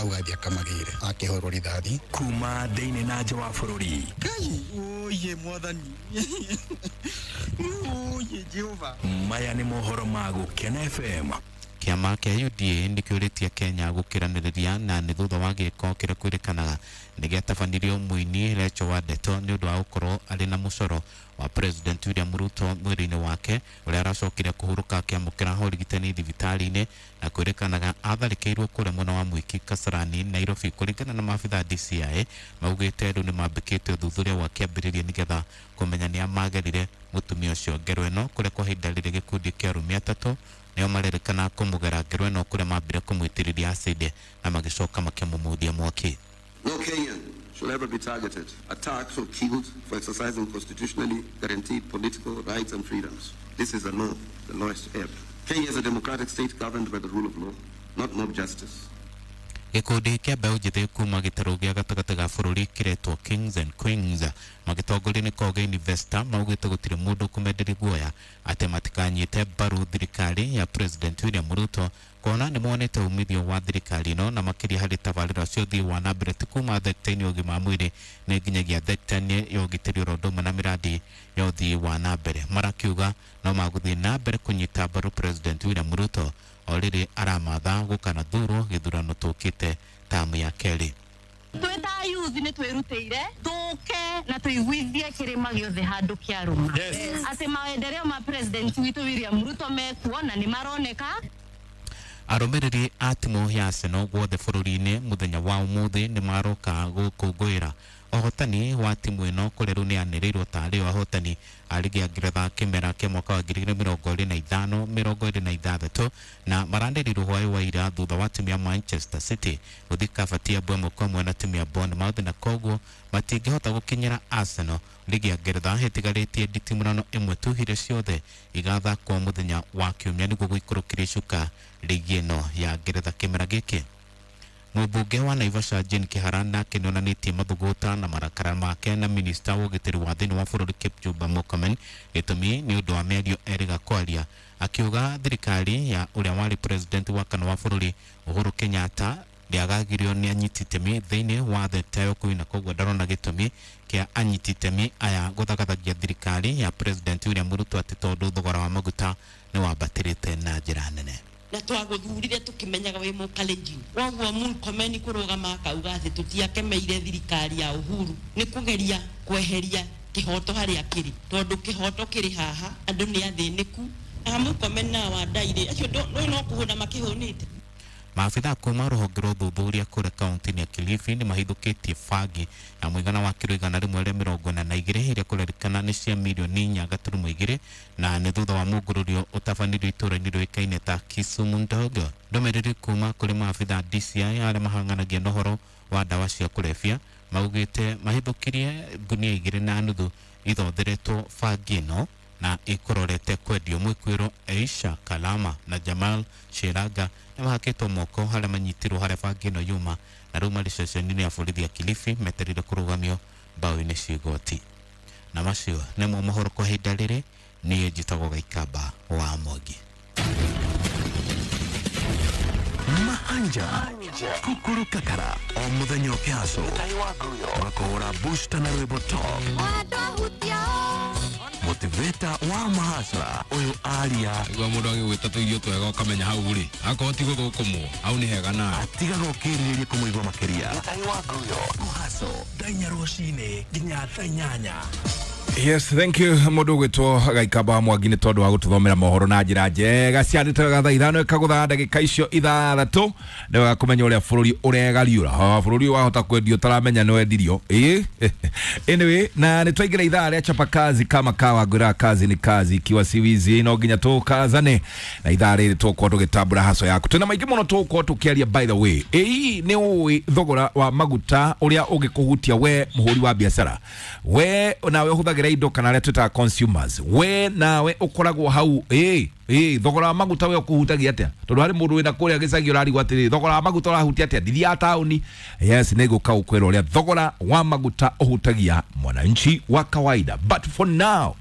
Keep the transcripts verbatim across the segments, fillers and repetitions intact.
Hau athiĩ akamagĩre akĩhũrwo rithathi. Kuma thĩinĩ na nja wa bũrũri. Ngai oye mwathani oye Jehova. Maya nĩ mohoro ma Gũkena F M. Kĩama kĩa U D A nĩkĩũrĩtie Kenya gũkĩranĩrĩria na nĩ thutha wa gĩko kĩrĩa kwĩrĩkanaga nĩgĩatabanirio mũini Rachel Wandeto nĩ ũndũ wa gũkorwo arĩ na mũcoro wa President William Ruto mwĩrĩ-inĩ wake ũrĩa aracokire kũhurũka akĩamũkĩra ũrigitani thibitarĩ-inĩ na kwĩrĩkanaga atharĩkĩirwo kũrĩa mwena wa Mwiki Kasarani Nairobi. Kũringana na maabitha D C I maugĩte rĩu nĩmambĩkĩte ũthuthuria wa kĩambĩrĩria nĩgetha kũmenya nĩa magerire mũtumia ũcio ngero ĩno kũrĩa kwa ihinda rĩrĩ gĩkundi kĩa arũme atatũ nĩo marerĩkana kũmũgera ngero ĩno kũrĩa mambire kũmũitĩrĩria acid na magĩcoka makĩmũmundia mwaki. No Kenyan should ever be targeted, attacked or killed for exercising constitutionally guaranteed political rights and freedoms. This is a law, the lowest ebb. Kenya is a democratic state governed by the rule of law, not mob justice. Gĩkundi kĩa mbeũ njĩthĩ kuma gĩtarũ gĩa gatagatĩ ga bũrũri kĩretwo Kings and Queens magĩtongorio nĩ Koge Investor maugĩte gũtirĩ mũndũ kũmenderia guoya atĩ matikanyite mbaru thirikari ya President William Ruto kuona nĩ monete umithio wa thirikari ĩno na makĩria harĩ tabarĩra cia ũthii wa na mbere ti kuma thekta-inĩ ya ũgima wa mwĩrĩ nĩ nginyagia thekta-inĩ ya ũgitĩri oro ũndũ ũmwe na mĩradi ya ũthii wa na mbere. Marakiuga no magũthiĩ na mbere kũnyita mbaru President William Ruto o rĩrĩ aramatha gũkanathurwo gĩthurano tũkĩte tamu ya kerĩ. Twĩ ta youth nĩ twĩrutĩire tũke na tũiguithie kĩrĩma gĩothe handũ kĩarũma atĩ maendeleo ma President witũ William Ruto mekuo na nĩ maroneka. Arũmĩrĩri a timu ya Arsenal guothe bũrũri-inĩ mũthenya wa ũmũthĩ nĩ maroka gũkũngũĩra ũhotani wa timu ĩno kũrĩa rĩu nĩyanĩrĩirwo tarĩ o ahotani a rigi ya Ngeretha kĩmera kĩa mwaka wa ngiri igĩrĩ mĩrongo ĩrĩ na ithano mĩrongo ĩrĩ na ithathatũ na maranĩrĩirwo hwaĩ wa ira thutha wa timu ya Manchester City gũthiĩ kabati ya ĩmwe kwa ĩmwe na timu ya Bournemouth na koguo matingĩhota gũkinyĩra Arsenal. Rigi ya Ngeretha ĩtigarĩtie nditimũrano ĩmwe tu iria ciothe igathakwo mũthenya wa kiumia nĩguo gũikũrũkĩria icuka rigi ĩno ya Ngeretha kĩmera gĩkĩ. Mũmbunge wa Naivasha Jane Kihara nake nĩonanĩtie mathũgũta na marakara make na minista wa ũgitĩri wa thĩinĩ wa bũrũri Kipchumba Murkomen gĩtũmi nĩ ũndũ wa mĩario erĩga kwaria akiuga thirikari ya ũrĩa warĩ president wa kana wa bũrũri Uhuru Kenyatta ndĩagagirio nĩ anyiti itemi thĩinĩ wa thekta ya ũkui na koguo ndarona gĩtũmi kĩa anyiti itemi aya gũthagathagia thirikari ya President William Ruto atĩ tondũ thogora wa maguta nĩ wambatĩrĩte na njĩra nene. Na twaguthurire tukimenyaga wi mukalenjin woguo Murkomen kurugama akauga ati tutiakemeire thirikari ya Uhuru ni kugeria kweheria kihoto haria kiri tondu kihoto kiri haha andu ni athiniku na Murkomen na Wandaire acio ndo no kuhuna makihunite. Maabitha kuma rũhonge rwa ũthuthuria kũrĩa kaunti-inĩ ya Kilifi nĩ mahithũkĩtie bangi ya mũigana wa kiro igana rĩmwe rĩa mĩrongo ĩna na igĩrĩ ĩrĩa kũrerĩkana nĩ cia mirioni inya gaturumo igĩrĩ na nĩ thutha wa mũngũrũrio ũtabanirio itũũra-inĩ rĩũĩkaine ta Kisumu Ndogo. Ndũmĩrĩri kuma kũrĩ maabitha D C I arĩa mahang'anagia na ũhoro wa ndawa cia kũrebia maugĩte mahithũkirie ngunia igĩrĩ na nuthu ithotheretwo bangi ĩno na ikororete kwendio. Mwĩkwĩrwo Aisha Kalama na Jamal Shiraga nĩ mahakĩtwo moko harĩa manyitirwo harĩa bangi ĩno yuma na rĩu marĩ ceceni-inĩ ya borithi ya Kilifi metereire kũrũgamio mbaũ-inĩ cia igoti. Na macio nĩmo mohoro kwa ihinda rĩrĩ. Niĩ njĩtagwo Gaikamba wa Mwangi. Mahanja kukuru kakara o muthenya ũkĩhaco ũgakũhũra booster na rwĩmbo top motivator wa mahasra ũyũ aria nĩguo mũndũ agĩgwĩta tũirio twega ũkamenya hau rĩ akorwo ti gũthũkũmwo hau nĩ hega nawe atigaga ũkĩrirĩria kũmũigua makĩria. Mũhaco thaa inya rũcinĩ nginya thaa inyanya. Yes, thank you mũndũ ũgwĩtwo Gaikamba wa Mwangi nĩ tondũ wa gũtũthomera mohoro na njĩra njega ciandĩtwo thaa ithano ĩkagũtha ndagĩka icio ithathatũ nĩ wega kũmenya ũrĩa bũrũri ũregariũra. Bũrũri wahota kwendio ũtaramenya nĩ wendirio. Ĩĩ anyway, na nĩ twaingĩra ithaa rĩa chapa kazi kama kawa ngwĩraga kazi ni kazi ikiwa si wizi no nginya tũkazane na ithaa rĩrĩ tũgũkorwo tũgĩtambũra haco yaku. Twĩna maingĩ mũno tũgũkorwo tũkĩaria by the way. Ĩĩ nĩ ũĩ thogora wa maguta ũrĩa ũngĩkũhutia we mũhũri wa biacara, we nawe ũhũthagĩra indo kana arĩa twĩtaga consumers, we nawe ũkoragwo hau ĩ ĩ thogora wa maguta we ũkũhutagia atĩa? Tondũ harĩ mũndũ wĩna kũrĩa gĩcagi ũrarigwo atĩrĩ thogora wa maguta ũrahutia atĩa ndithiaga taũni. Yes, nĩ ngũka gũkwĩra ũrĩa thogora wa maguta ũhutagia mwananchi wa kawaida. But for now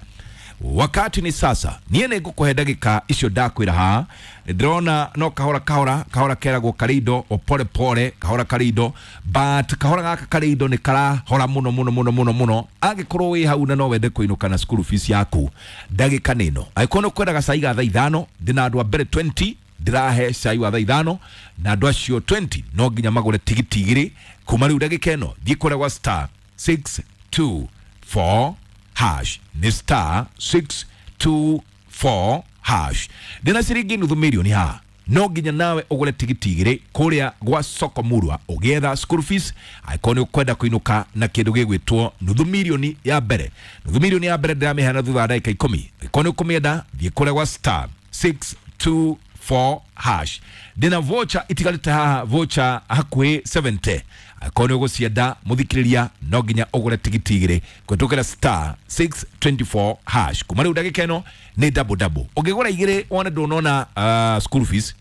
Wakati ni sasa. Niĩ nĩ ngũkũhe ndagĩka icio ndakwĩra haha. Ndĩrona no kahora kahora kahora keragwo karĩ indo o pole pole kahora karĩ indo, but kahora gaka karĩ indo nĩ karahora mũno mũno mũno mũno mũno. Angĩkorwo wĩ hau na no wende kũinũka na school fees yaku, ndagĩka nĩ ĩno. Angĩkorwo nĩ ũkwendaga cai ga thaa ithano, ndĩna andũ a mbere twenty ndĩrahe cai wa thaa ithano, na andũ acio twenty no nginya magũre tigiti igĩrĩ kuma rĩu ndagĩka ĩno. Thiĩ kũrĩa gwa star six two four hash, nĩ star six two four hash. Ndĩna ciringi nuthu mirioni haha, no nginya nawe ũgũre tigiti igĩrĩ kũrĩa gwa Soko Murwa ũgĩetha school fees. Angĩkorwo nĩ ũkwenda kũinũka na kĩndũ gĩgwĩtwo nuthu mirioni ya mbere, nuthu mirioni ya mbere ndĩramĩheana thutha wa ndagĩka ikũmi. Angĩkorwo nĩ ũkũmĩenda, thiĩ kũrĩa gwa star six two four hash. Ndĩna voucher itigarĩte haha, voucher hakuhĩ seventy. Angĩkorwo nĩ ũgũcienda mũthikĩrĩria, no nginya ũgũre tigiti igĩrĩ kũhetũkĩra star six twenty four hash. Kuma rĩu ndagĩka ĩno nĩ double double. Ũngĩgũra igĩrĩ wone ndũnona uh, school fees,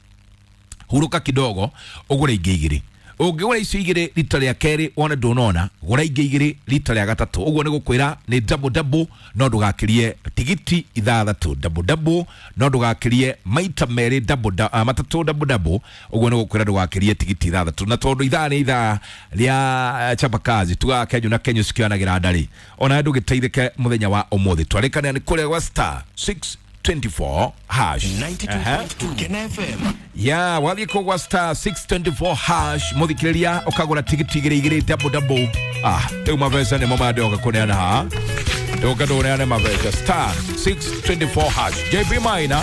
hurũka kidogo ũgũre ingĩ igĩrĩ. Ũngĩgũra icio igĩrĩ rita rĩa kerĩ wone ndũnona, gũra ingĩ igĩrĩ rita rĩa gatatũ. Ũguo nĩ gũkwĩra nĩ double double, no ndũgakĩrie tigiti ithathatũ. Double double, no ndũgakĩrie maita merĩ double uh, matatũ double double. Ũguo nĩ gũkwĩra ndũgakĩrie tigiti ithathatũ. Na tondũ ithaa nĩ ithaa rĩa chapakazi, tugaga Kenyu na Kenyu cikĩoyanagĩra ndarĩ, ona ndũgĩteithĩke mũthenya wa ũmũthĩ. Twarĩkanĩra nĩ kũrĩa gwa star six twenty four hash ninety two point two Kena F M. Ya wathiĩ kũu gwa star six twenty four hash mũthikĩrĩria, ũkagũra tigiti igĩrĩ igĩrĩ double double. Ah, rĩu mabeca nĩmo mandĩoka kũneana haha, ndũka ndũneane mabeca. Star six twenty four hash. J P Maina.